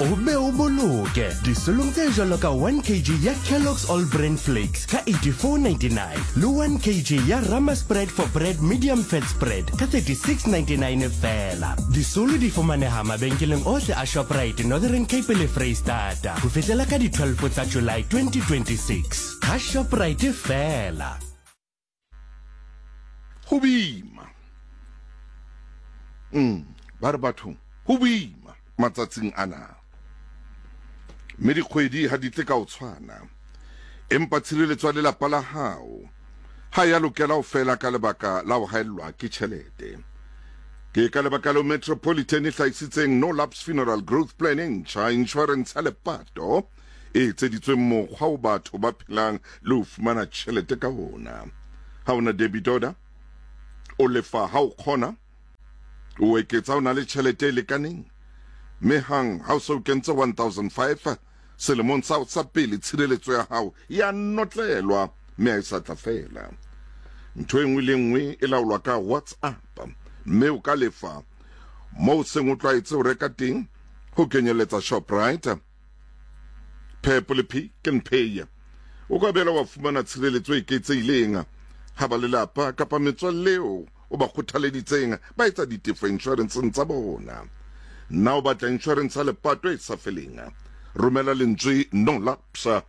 O be o boloke disolong tse jwalo ka 1 kg ya Kellogg's All Bran Flakes ka 84.99 le 1 kg ya Rama Spread for Bread Medium Fat Spread ka 36.99 feela. Disolo di fumaneha mabenkeleng ohle a Shoprite Northern Cape le Freistata ho fihlela ka di 12 tsa July 2026. Ga Shoprite feela. Go boima. Mm, ba re bathong, go boima matsatsing ana. Mme dikgwedi ha di tle ka ho tshwana. Empa tshireletso ya lelapa la hao ha ya lokela ho fela ka lebaka la ho haellwa ke tjhelete. Ke ka lebaka leo Metropolitan e hlahisitseng No Lapse Funeral Growth Plan e ntjha, inshorense ya lepato e etseditsweng mokgwa o batho ba phelang le ho fumana tjhelete ka ona. Ha o na debit order, o lefa ha o kgona, o eketsa o na le tjhelete e lekaneng, mme hang ha o se o kentse 1005 selemong sa sa pele tshireletso ya hao ya notlelwa mme ha e sa tla fela. Ntho e nngwe le nngwe e laolwa ka WhatsApp mme o ka lefa moo seng o tlwaetse ho reka teng ho kenyelletsa Shoprite, Pep le Pick n Pay. O ka boela wa fumana tshireletso e eketsehileng ha ba lelapa kapa metswalle eo o ba kgothaleditseng ba etsa ditefo inshorenseng tsa bona. Na o batla inshorense ya lepato e sa feleng? Romela lentswe No Lapse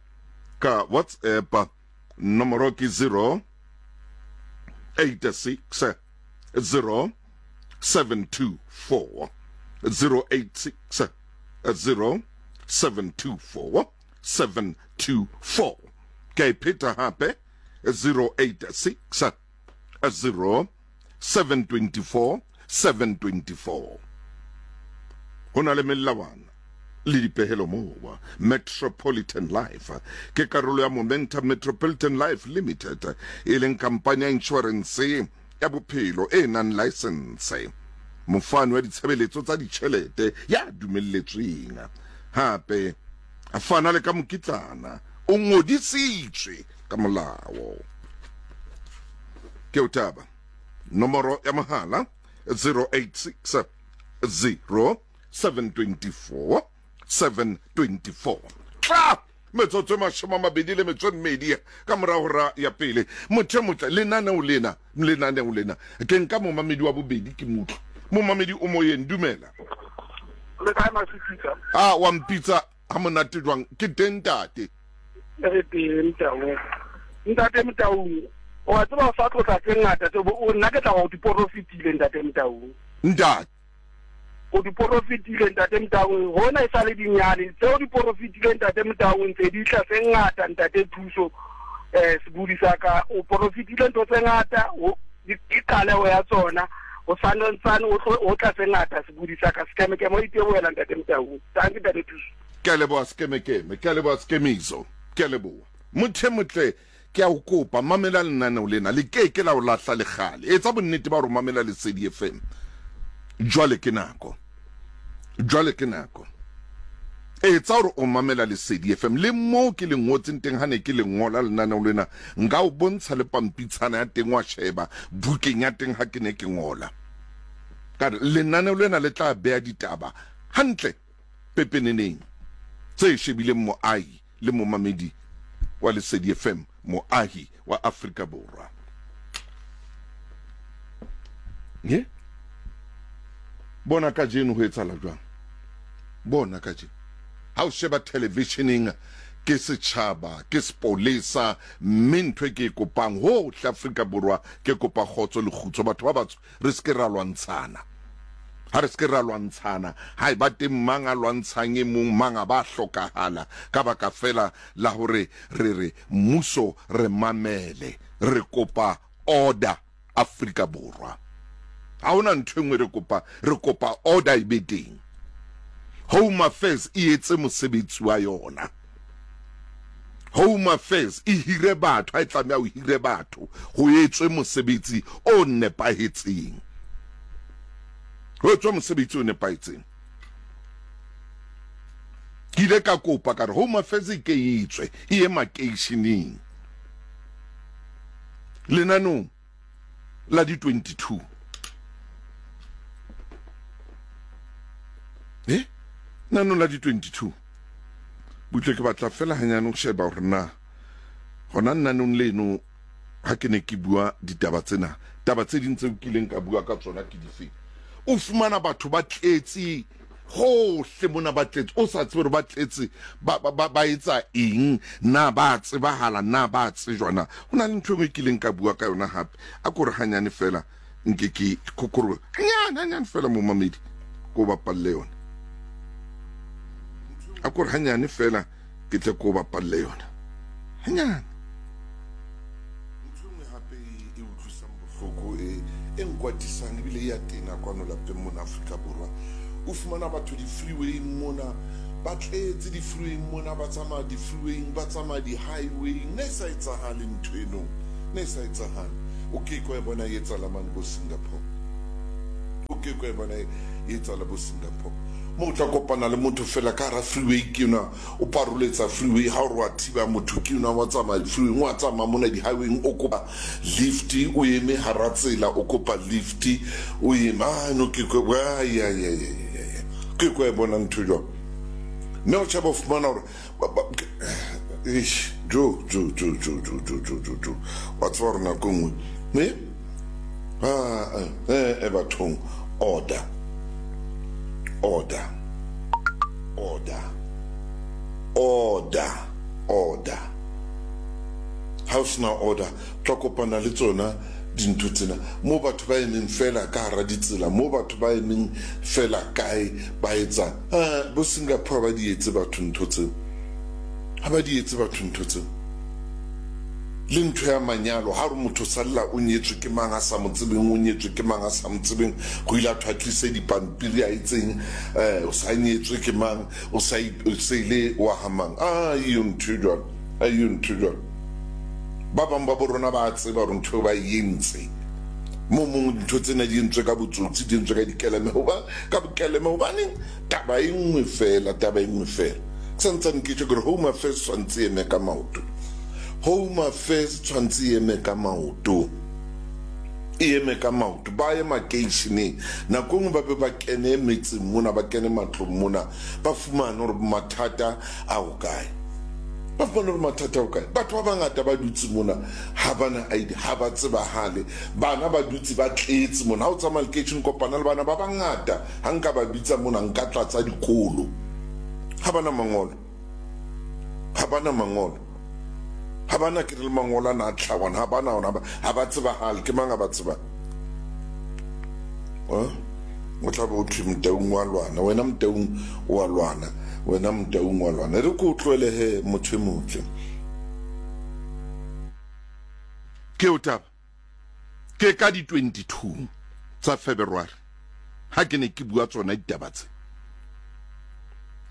ka WhatsApp. Nomoro ke 0 86 0 724 086 0 724 724. Ke a e pheta hape 086 0 724 724. Ho na le melawana le dipehelo moo. Metropolitan Life ke karolo ya Momentum Metropolitan Life Limited, e leng kampani ya inshorense ya bophelo e nang laesense, mofani wa ditshebeletso tsa ditjhelete ya dumelletsweng, hape a fana le ka mokitlana o ngodisitswe ka molao. Ke o taba. Nomoro ya mohala 086 0 724 724. Tla metsotso e 28 ka morago hora ya pele. Motho e motle, lenaneo lena, lenaneo lena. Ke nka momamedi wa bobedi ke mutlo. Momamedi o moyeng, dumela. Le kae Masifika? A wa mpitsa ha monate jwang? Ke teng ntate. Re teng Motaung. Ntate Motaung, o a tseba o sa tlotla tse ngata tse nna ke tla go di porofitile ntate Motaung. Ntate. O di porofitile ntate Motaung, hona e sa le dinyane tseo di porofitile ntate Motaung tse di tla tse ngata ntate Thuso eh sebudi sa ka o porofitile ntho tse ngata ke qaleho ya tsona o santsane o tlo o tla tse ngata sebudi sa ka sekemekeme o itebohela ntate Motaung tanki ntate Thuso. Ke a leboha sekemekeme, ke a leboha sekemiso, ke a leboha. Motho e motle Ke a o kopa, mamela lenaneo lena. Le ke ke la o lahla le kgale. Etsa bonnete ba hore o mamela Lesedi FM. Jwale ke nako. Jwale ke nako. Etsa hore o mamela Lesedi FM. Le moo ke le ngotseng teng ha ne ke le ngola lenaneo lena, nka o bontsha le pampitshana ya teng wa sheba bukeng ya teng ha ke ne ke ngola. Ka re lenaneo lena le tla beha ditaba hantle pepeneneng tse shebileng moahi le momamedi wa Lesedi FM, moahi wa Afrika Borwa. Ye? Bona kajeno ho etsahala jwang? Bona kajeno. Ha o sheba televisioneng ke setjhaba, ke sepolesa, mme ntho e ke e kopang hohle Afrika Borwa ke kopa kgotso le kgutso. Batho ba batsho re se ke ra lwantshana. Ha re se ke ra lwantshana, ha eba teng mang a lwantshang e mong, mang a ba hlokahala ka baka feela la hore re re mmuso re mamele, re kopa order Afrika Borwa. Ha hona ntho e nngwe re kopa, re kopa order e be teng. Home Affairs e etse mosebetsi wa yona. Home Affairs e hire batho, ha e tlameha ho hire batho, ho etswe mosebetsi o nepahetseng. Ho etswe mosebetsi o nepahetseng. Ke ile ka kopa ka re Home Affairs e ke e tswe e ye makeisheneng. Lenanong la di 22. Eh? Nanong la di 22. Butle ke batla fela hanyane ho sheba hore na hona nanong leno ha ke ne ke bua ditaba tsena, taba tse ding tseo kileng ka bua ka tsona ke dife. O fumana batho ba tletse hohle mona, ba tletse o sa tsebe hore ba tletse ba, ba, ba, ba etsa eng, na ba tsebahala, na ba tsejwa na. Ho na le ntho e nngwe e kileng ka bua ka yona hape, a ko re hanyane fela nke ke kokoro hanyane hanyane fela momamedi ko bapalle yona a kore hanyane fela ke tle ko bapalle yona hanyane ntho e nngwe hape e utlwisang bohloko e e nkwatisang ebile e ya tena kwano lapeng mona Afrika Borwa o fumana batho di-freewayng mona ba tletse di-freewayng mona ba tsamaya di-freewayng ba tsamaya di-highwayng ne e sa etsahale ntho eno ne e sa etsahale O ke ke wa e bona e etsala mane bo Singapore. O ke ke wa e bona e etsala bo Singapore. Mo o tla kopana le motho fela ka hara freeway ke yona o paroletsa freeway ha o re wa thiba motho ke yona wa tsamaya freeway wa tsamaya mona di-highwayng o kopa lift o eme hara tsela o kopa lift o eme ah no ke ke wa ya ya ya ya ke ke wa e bona ntho jwang mme o tšhaba o fumana gore Eish, jo, jo, jo, jo, jo, jo, jo, jo, jo. Wa tseba gore nako nngwe, me, ah, eh, eh, bathong, order, order, order, order, order. Ha o sena order, tla kopana le tsona dintho tsena mo batho ba emeng fela ka hara ditsela, mo batho ba emeng fela kae ba etsang. Ah, bo Singapore ba di etse batho ntho tseo. Ha ba di etse batho ntho tseo. Le ntho ya manyalo, ha re motho salla o nyetswe ke mang a sa mo tsebeng, o nyetswe ke mang a sa mo tsebeng, go ile a thwa tlise dipampiri a itseng, eh, o sa nyetswe ke mang, o sa o sa ile wa ha mang. Ah, iyo ntho e jwalo, a iyo ntho e jwalo. Ba bang ba bo rona ba tseba hore ntho eo ba e entse. Mo mong dintho tsena di entswe ka botsotsi, di entswe ka dikeleme, hoba ka bokeleme hobaneng taba e nngwe fela, taba e nngwe fela. Ke sa ntsane ke tjho ke re Home Affairs tshwantse e eme ka maoto. Home Affairs tshwantse e eme ka maoto. E eme ka maoto. Ba ye makeisheneng. Nako e nngwe ba be ba kene metseng mona, ba kene matlong mona, ba fumane hore mathata a ho kae. Ba fumane hore mathata a ho kae. Batho ba bangata ba dutse mona ha ba na ID, ha ba tsebahale. Bana ba dutse ba tletse mona. Ha o tsamaya lekeisheneng kopana le bana ba bangata. Ha nka ba bitsa mona nka tlatsa dikolo. Ha ba na mangolo. Ha ba na mangolo. Ha ba na ke re le mangolo ana a tlhawana. Ha ba na ona. Ha ba tsebahale. Ke mang a ba tsebang? O tla be o thwe Motaung wa lwana. Wena Motaung o a lwana. Wena Motaung wa lwana. E re ke o tlohele he motho e motle. Ke eo taba. Ke ka di 22 tsa February ha ke ne ke bua tsona ditaba tse.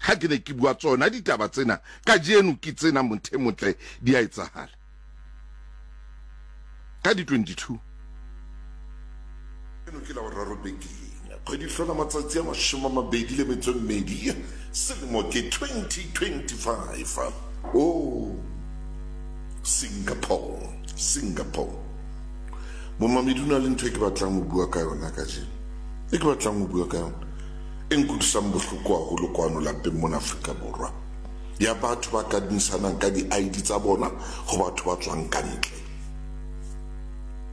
Ha ke ne ke bua tsona ditaba tsena, kajeno ke tsena mothe motle di a etsahala. Ka di 22. Eno ke Laboraro bekeng. Kgwedi hlola matsatsi a 22, selemo ke 2025. Oh, Singapore, Singapore. Momamedi o na le ntho e ke batlang ho bua ka yona kajeno. E ke batlang ho bua ka yona. E nkutlwisang bohloko haholo kwano lapeng mona Afrika Borwa. Ya batho ba kadimisanang ka di-ID tsa bona ho batho ba tswang ka ntle.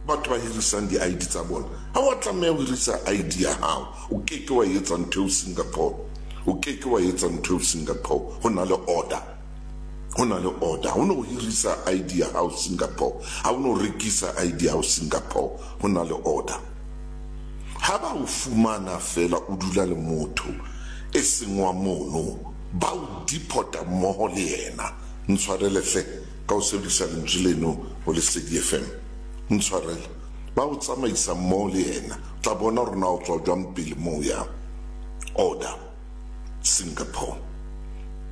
Batho ba hirisang di-ID tsa bona. Ha wa tlameha ho hirisa ID ya hao. O ke ke wa etsa ntho eo Singapore. O ke ke wa etsa ntho eo Singapore. Ho na le order. Ho na le order. Ha o no hirisa ID ya hao Singapore. Ha o no rekisa ID ya hao Singapore. Ho na le order. Ha ba o fumana feela o dula le motho e seng wa mono, ba o deporta mmoho le yena. Ntshwarele hle ka ho sebedisa lentswe leno ho Lesedi FM. Ntshwarele. Ba o tsamaisa mmoho le yena. O tla bona hore na o tswa jwang pele moo o yang. Order. Singapore.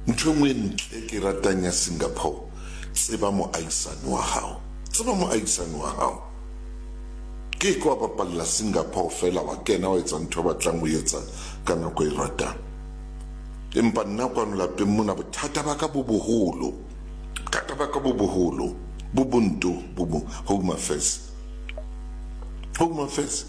Ntho e nngwe e ntle e ke e ratang ya Singapore, tseba moahisani wa hao. Tseba moahisani wa hao. Ke ke wa bapalla Singapore feela wa kena wa etsa ntho e batlang ho etsa ka nako e ratang. Empa nna kwano lapeng mona bothata ba ka bo boholo. Bothata ba ka bo boholo. Bo bonto bo bo Home Affairs. Home Affairs.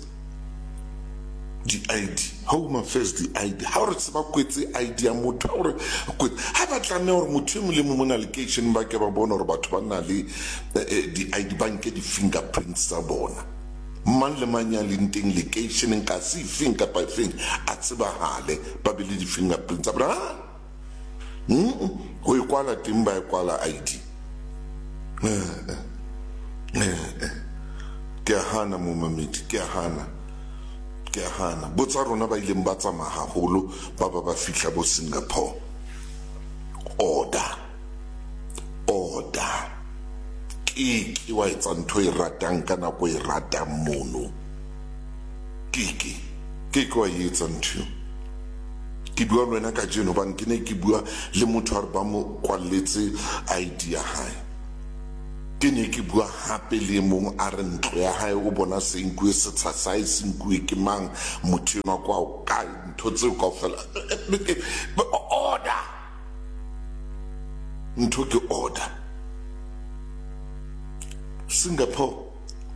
Di-ID, Home Affairs di-ID, ha o re se ba kwetse ID ya motho, ha o re kwetse, ha ba tlameha hore motho e mong le mong mona lekeisheneng ba ke ba bone hore batho ba na le di-ID, ba nke di-fingerprints tsa bona. Mang le mang ya leng teng lekeisheneng ka se efeng kapa efeng a tsebahale, ba be le di-fingerprints tsa bona. Ha! Ho e kwala teng ba e kwala ID. Eh, eh, eh. Ke a hana momamedi, ke a hana. Ke a hana. Botsa rona ba ileng ba tsamaya haholo ba ba ba fihla bo Singapore. Order. Order. Ke ke wa etsa ntho e ratang ka nako e ratang mono. Ke ke. Ke ke wa e etsa ntho eo. Ke bua le wena kajeno hobane ke ne ke bua le motho a re ba mo kwalletse ID ya hae. Ke ne ke bua hape le e mong a re ntlo ya hae o bona se nkuwe setsha sa hae se nkuwe ke mang motho enwa kwa o kae ntho tseo kaofela. Order! Ntho ke order. Singapore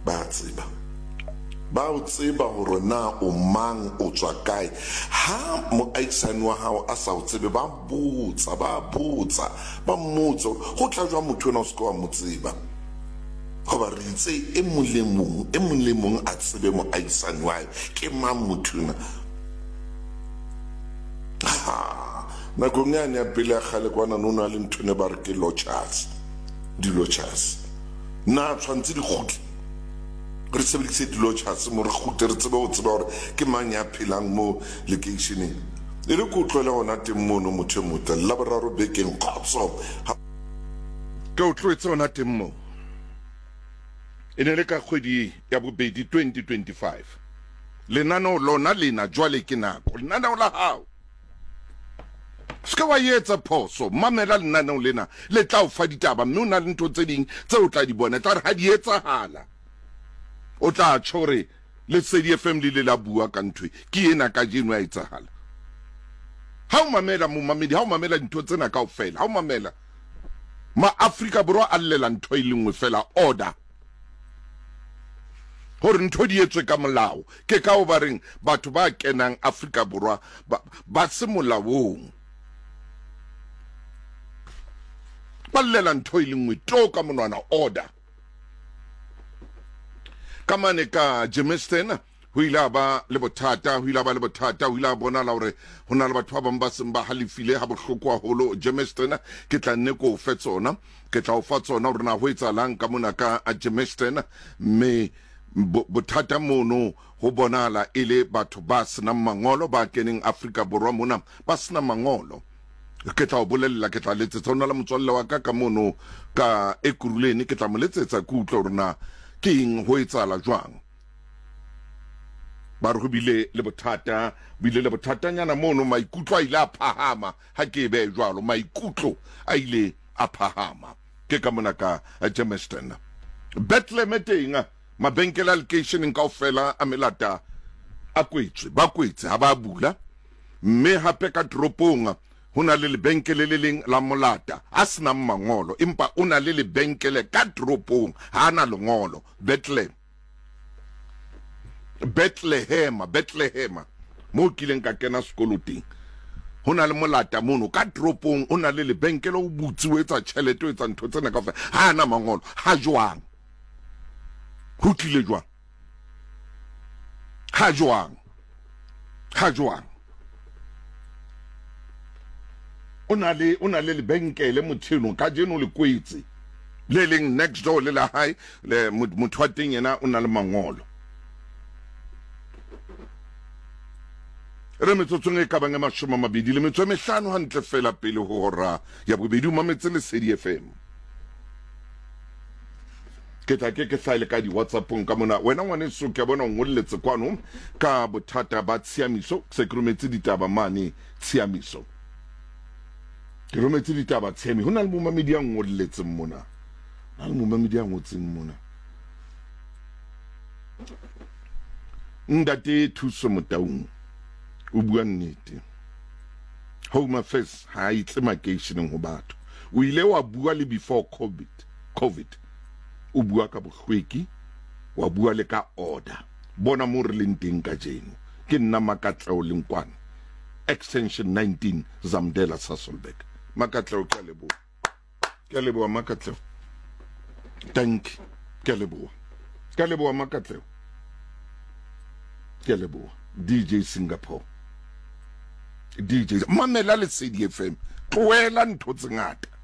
Ba a tseba. Ba o tseba hore na o mang, o tswa kae. Ha moahisani wa hao a sa o tsebe, ba botsa, ba botsa, ba mmotsa hore ho tla jwang motho enwa o se ke wa mo tseba. Hoba re itse e mong le mong, e mong le mong a tsebe moahisani wa hae, ke mang motho enwa. Ha, nakong yane ya pele ya kgale kwana no na le ntho ne ba re ke lotjhas, di-lotjhas. Na tshwantse di kgutle? Re sebedise di-lodgers mo re kgutle re tsebe ho tseba hore ke mang ya phelang mo lekeisheneng. E re ke o tlohele hona teng mono motho e motle. Laboraro bekeng kgotso. Ha. Ke o tlohetse hona teng moo. E ne le ka kgwedi ya bobedi 2025. Lenaneo lona lena jwale ke nako. Lenaneo la hao. Se ke wa etsa phoso, mamela lenaneo lena le tla o fa ditaba mme o na le ntho tse ding tse o tla di bona. Tla re ha di etsahala o tla tjho hore Lesedi FM le ile la bua ka ntho e, ke ena kajeno ya etsahala. Ha o mamela momamedi, ha o mamela dintho tsena kaofela, ha o mamela Ma-Afrika Borwa a llela ntho e le nngwe fela, order. Hore ntho di etswe ka molao. Ke ka ho ba reng batho ba kenang Afrika Borwa ba, ba se molaong. Ba llela ntho e le nngwe to ka monwana, order. Ka mane ka Germiston ho ile a ba le bothata, ho ile a ba le bothata, ho ile a bonala hore ho na le batho ba bang ba seng ba halefile ha bohloko haholo Germiston. Ke tla nne ko fe tsona, ke tla o fa tsona hore na ho etsahalang ka mona ka Germiston. Mme bothata mono ho bonahala e le batho ba senang mangolo ba keneng Afrika Borwa mona ba sena mangolo. Ke tla o bolella, ke tla letsetsa. Ho na le motswalle wa ka ka mono ka Ekurhuleni, ke tla mo letsetsa ke utlwe hore na ke eng, ho etsahala jwang. Ba re ho bile le bothata, bile le bothatanyana mono, maikutlo a ile a phahama, ha ke e behe jwalo, maikutlo a ile a phahama. Ke ka mona ka Germiston. Bethlehem teng, mabenkele a lekeisheneng kaofela a melata a kwetswe, ba kwetse ha ba bula. Mme hape ka toropong ho na le lebenkele le leng la molata a senang mangolo, empa o na le lebenkele ka toropong, ha a na lengolo. Bethlehem. Bethlehema, Bethlehema, moo kileng ka kena sekolo teng. Ho na le molata mono ka toropong, o na le lebenkele, o butse, o etsa tjhelete, o etsa ntho tsena kaofela. Ha ana mangolo, ha jwang? Ho tlile jwang? Ha jwang? Ha jwang? O na le, o na le lebenkele motho eno, kajeno le kwetse. Le leng next door le la hae, le motho wa teng yena o na le mangolo. Re metsotsong e ka bang e 25 hantle fela pele ho hora ya bobedi, o mametse Lesedi FM. Ke tla ke ke hlaele ka di-WhatsAppong ka mona. Wena ngwaneso, ke a bona o ngolletse kwano ka bothata ba tshiamiso. Se ke rometse ditaba mane tshiamiso. Ke rometse ditaba tshiamiso. Ho na le momamedi ya ngolletseng mona. Ho na le momamedi ya ngotseng mona. Ntate Thuso Motaung o bua nnete. Home Affairs ha e tle makeisheneng ho batho. O ile wa bua le before COVID. COVID. O bua ka bohlweki, wa bua le ka order. Bona moo re leng teng kajeno. Ke nna Makatleo Lenkwane, Extension 19, Zamdela, Sasolburg. Makatleo, ke a leboha. Ke a leboha Makatleo. Thank you. Ke a leboha. Ke a leboha Makatleo. Ke a leboha. DJ Singapore. DJ mamela Lesedi FM. Tlohela ntho tse ngata.